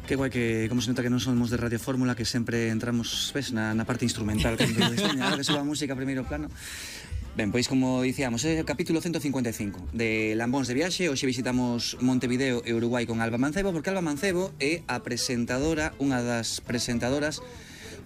Que guai que, como se nota que non somos de Radio Fórmula, que sempre entramos, ves, na parte instrumental, cando diseña, que suba a música a primeiro plano. Ben, pois como dicíamos, é o capítulo 155 de Lambóns de Viaxe. Hoxe visitamos Montevideo e Uruguai con Alba Mancebo, porque Alba Mancebo é a presentadora, unha das presentadoras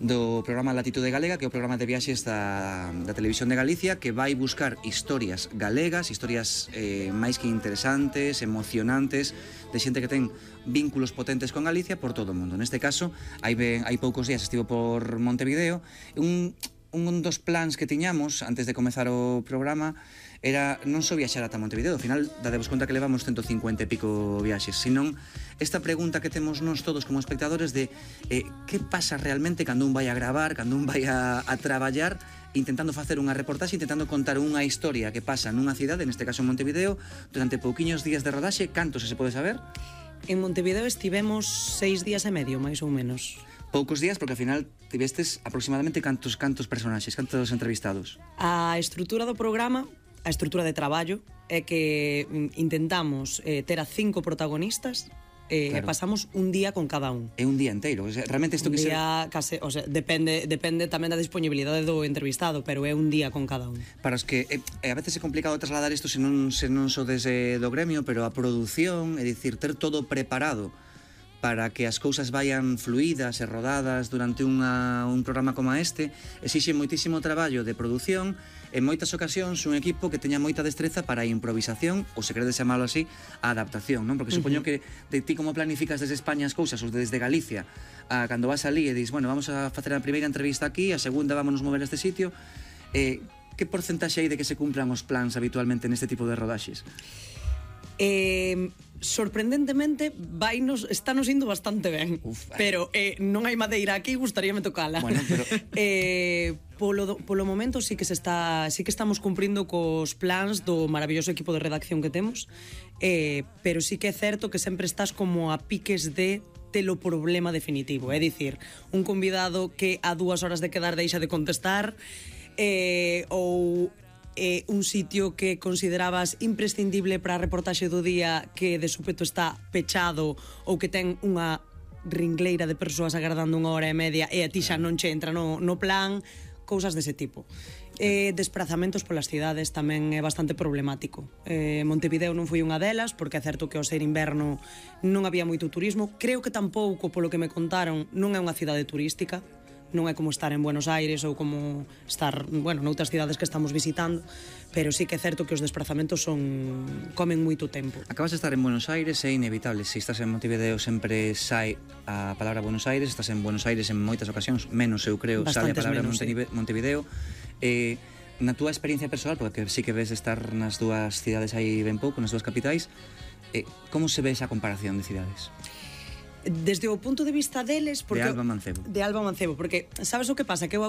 do programa Latitude Galega, que é o programa de viaxes da Televisión de Galicia, que vai buscar historias galegas, historias máis que interesantes, emocionantes, de xente que ten vínculos potentes con Galicia por todo o mundo. Neste caso, hai poucos días estivo por Montevideo. Un dos plans que tiñamos antes de comezar o programa era non só viaxar ata Montevideo. Ao final, dadevos conta que levamos 150 e pico viaxes, senón esta pregunta que temos nós todos como espectadores de que pasa realmente cando un vai a gravar, cando un vai a traballar, intentando facer unha reportaxe, intentando contar unha historia que pasa nunha cidade, neste caso en Montevideo, durante pouquiños días de rodaxe. Cantos se pode saber? En Montevideo estivemos 6 días e medio, máis ou menos. Poucos días, porque ao final tivestes aproximadamente cantos personaxes, cantos entrevistados? A estrutura do programa, a estrutura de traballo, é que intentamos ter a 5 protagonistas e pasamos un día con cada un. É un día inteiro, o sea, realmente isto que un día case, o sea, depende tamén da disponibilidade do entrevistado, pero é un día con cada un. Para os que a veces é complicado trasladar isto se non sodes do gremio, pero a produción, é dicir, ter todo preparado para que as cousas vayan fluídas e rodadas durante un programa como este, exixe moitísimo traballo de produción, en moitas ocasións un equipo que teña moita destreza para a improvisación, ou se queredes chamalo así, a adaptación, non? Porque supoño que de ti como planificas desde España as cousas, ou desde Galicia, cando vas alí e dis, bueno, vamos a facer a primeira entrevista aquí, a segunda vámonos mover a este sitio, que porcentaxe hai de que se cumplan os plans habitualmente neste tipo de rodaxes? Sorprendentemente estános indo bastante ben. Pero non hai madeira aquí, gustaríame tocala. Bueno, pero polo momento sí que estamos cumprindo cos plans do maravilloso equipo de redacción que temos, pero sí que é certo que sempre estás como a piques de telo problema definitivo, é dicir, un convidado que a 2 horas de quedar deixa de contestar, ou un sitio que considerabas imprescindible para a reportaxe do día que de súpeto está pechado ou que ten unha ringleira de persoas agardando 1 hora e media e a ti xa non che entra no plan, cousas dese tipo. Desprazamentos polas cidades tamén é bastante problemático. Montevideo non foi unha delas, porque é certo que ao ser inverno non había moito turismo. Creo que tampouco, polo que me contaron, non é unha cidade turística, non é como estar en Buenos Aires ou como estar, bueno, noutras cidades que estamos visitando, pero sí que é certo que os desprazamentos comen moito tempo. Acabas de estar en Buenos Aires, é inevitable. Se estás en Montevideo sempre sai a palabra Buenos Aires, estás en Buenos Aires en moitas ocasións, menos eu creo, sale a palabra Montevideo. Na túa experiencia personal, porque sí que ves estar nas dúas cidades aí ben pouco, nas dúas capitais, como se ve esa comparación de cidades? Desde o punto de vista deles, porque de Alba Mancebo, porque sabes o que pasa? Que eu agora